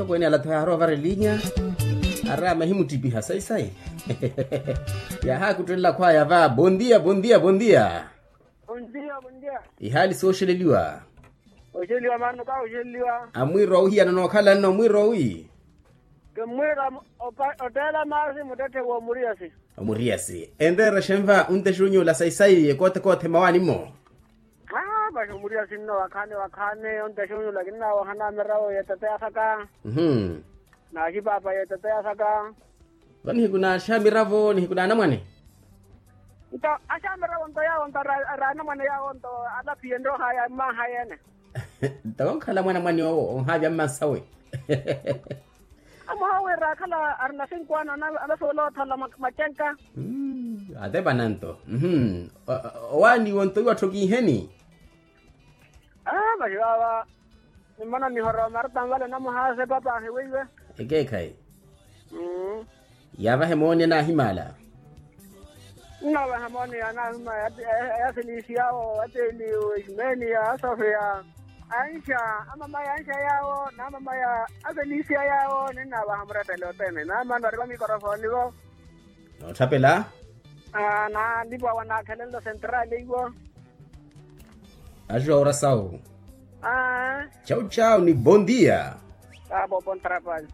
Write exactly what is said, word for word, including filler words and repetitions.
Pwene alatho yaarowa vara elinya. Arama ehimuttipiha sayi sayi. Yahaakuttelela khwaya va bondia bondia bondia. Bondia bondia. Ihaali sooxeleliwa. Oxeleliwa mano ka oxeleliwa. Amwiiro wa ohiyana nookhala nno mwiiro wi. Kimmwiira otteela maasi muttetthe w'omuriyasi. Omuriyasi enreera xenva ontexe onyuula sayi sayi ekoothekoothe mawaani-mo. Aa vaxi omuriyasi nno wakhaani wakhaani ontexe onyuula kinnaawoha na mirawo y'etete yasaka. Naaxipaapa y'etete yasaka. Vo nihiku naaxamiravo nihiku naanamwane. Nto axamiravo nto yaawo nto ari anamwane yaawo nto alaphiye nrooha ya mmaha yeene. Nto onkhala mwanamwane owo onhaavya mmansawe. Amoha wira akhala arina sinkwano anasuwela otholola macenka. Atepana nto. Owaaniwo nto iwattho kiiheni. Aa vaxi vaava. Nimmona nihorowa marta nvale namuhaase papa ahiweiwe. Ekeekhayi. Yaavahe mooni anaahimaala. Nnavaha mooni anaahimaala. Yaselisiyawo ateliwo ismenia asofia. Anxa amamaya anxa yaawo n'amamaya aselisiya yaawo ninnavaha murettele othene naamani vari vamikorofoni vo. Nootthaphela. Naalipo awo anaakhelenlo sentrali iwo. Axiwa ora sawu. Chau chau ni bondia. Abo bon trabalho.